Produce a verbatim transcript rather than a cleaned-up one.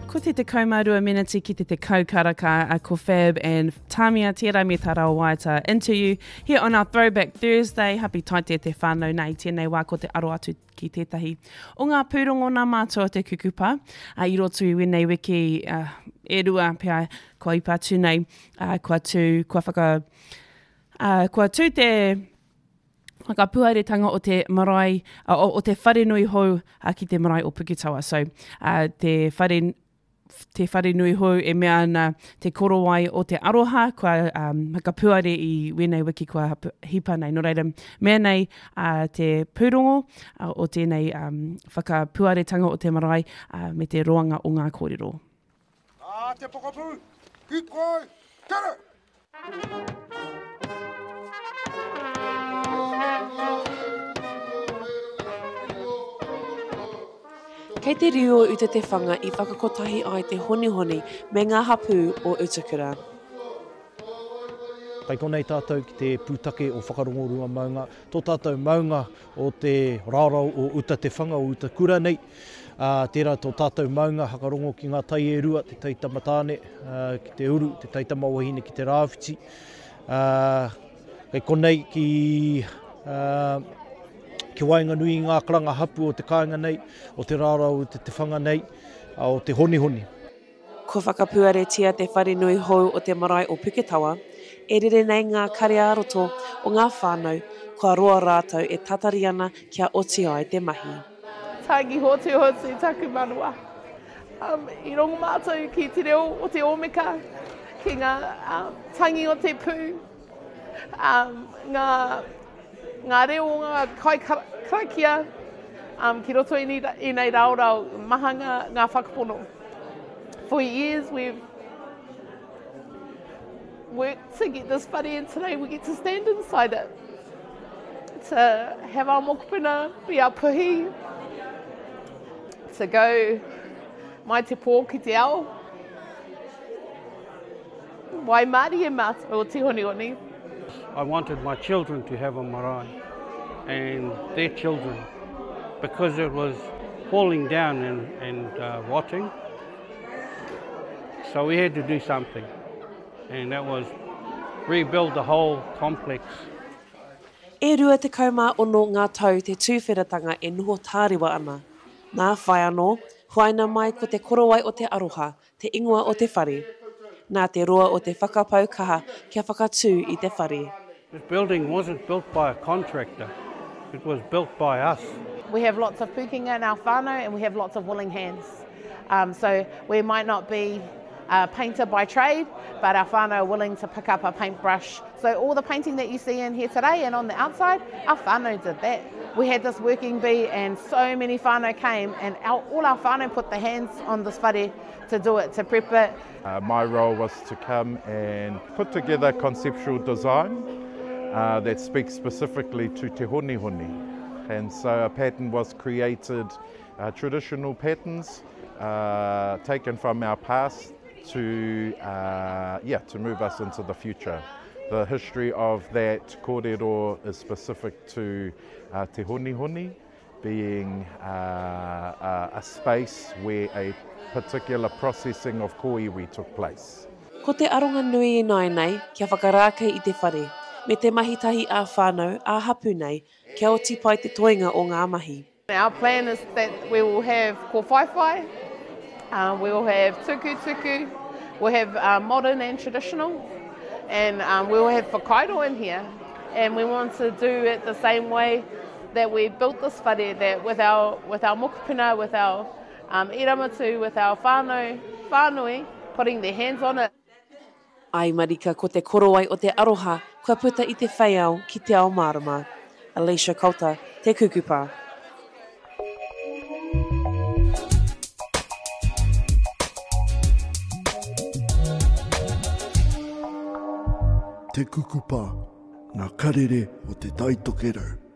Ko te tekau mā rua meneti ki te tekau karaka a ko Fab and Tamia tērā me tā rāua waiata Into You here on our Throwback Thursday. Happy taite te whānau nā i tēnei wā ko te aro atu ki tētahi o ngā pūrongo nā mātou o te kukupa uh, i roto i wēnei wiki uh, e rua pea kua ipa atu nei, uh, kua tū, kua whaka, uh, kua tū te whakapuaretanga o te marae, uh, o, o te wharenui hou uh, ki te marae o Puketawa. So, uh, te whare te wharenui hou e mea ana te korowai o te aroha, kua um, whakapuare i wēnei wiki kua hipa nei. Nō reira, mea nei uh, te pūrongo uh, o tēnei um, whakapuaretanga o te marae uh, me te roanga o ngā kōrero. A te pokapū, ki koe, tere! Kei te riu o Uta te whanga i whakakotahi ai te honihoni me ngā hapū o Utakura. Kei konei tātou ki te pūtake o Whakarongorua maunga, tō tātou maunga o te rārau o Uta te whanga o Utakura nei. Uh, tērā tō tātou maunga hakarongo ki ngā tai e rua, te taitama tāne uh, ki te uru, te taitama wahine ki te rāwhiti. Uh, kei konei ki... Uh, ki waenganui i ngā karanga hapu o te kāinga nei, o te rārau o te te whanga nei, o te honihoni. Kua whakapuaretia te wharenui hou o te marae o Puketawa, e rere nei ngā kare ā-roto o ngā whānau, kua roa rātou e tatari ana kia oti ai te mahi. Tangi hotu hotu taku manawa. Um, i rongo mātou ki te reo o te ōmeka, ki ngā um, tangi o te pū, um, ngā ngā reo o ngā kai karakia um, ki roto i, i nei raorao maha ngā, ngā whakapono. For years we've worked to get this whare and today we get to stand inside it. To have our mokopuna be our puhi, to go mai te pō ki te ao. Waimarie mātou o te honihoni. I wanted my children to have a marae and their children, because it was falling down and, and uh, rotting. So we had to do something, and that was rebuild the whole complex. E rua tekau mā ono ngā tau te tūwheratanga e noho tārewa ana. Nā whai anō, huaina mai ko te korowai o te aroha, te ingoa o te whare. Nā te roa o te whakapau kaha kia whakatū i te whare. This building wasn't built by a contractor, it was built by us. We have lots of pūkenga in our whānau and we have lots of willing hands. Um, so we might not be a painter by trade, but our whānau are willing to pick up a paintbrush. So all the painting that you see in here today and on the outside, our whānau did that. We had this working bee and so many whānau came and our, all our whānau put the hands on this whare to do it, to prep it. Uh, my role was to come and put together conceptual design uh, that speaks specifically to te honihoni. And so a pattern was created, uh, traditional patterns uh, taken from our past to, uh, yeah, to move us into the future. The history of that kōrero is specific to uh, te honihoni, being uh, a, a space where a particular processing of kōiwi took place. Ko te aronga nui i nai nei, kia whakarākei i te whare, me te mahi tahi ā whānau, ā hapu nei, kia oti pai te toenga o ngā mahi. Our plan is that we will have kōwhaiwhai, uh, we will have tukutuku, we'll have uh, modern and traditional, and um, we will have whakairo in here. And we want to do it the same way that we built this whare, that with our, with our mokopuna, with our um, iramatu, with our whānau, whānui, putting their hands on it. Ai marika ko te korowai o te aroha kua puta i te wheiao ki te ao mārama. Alicia Coulter, Te Kukupa. Te Kukupa, ngā karere o te Tai Tokerau.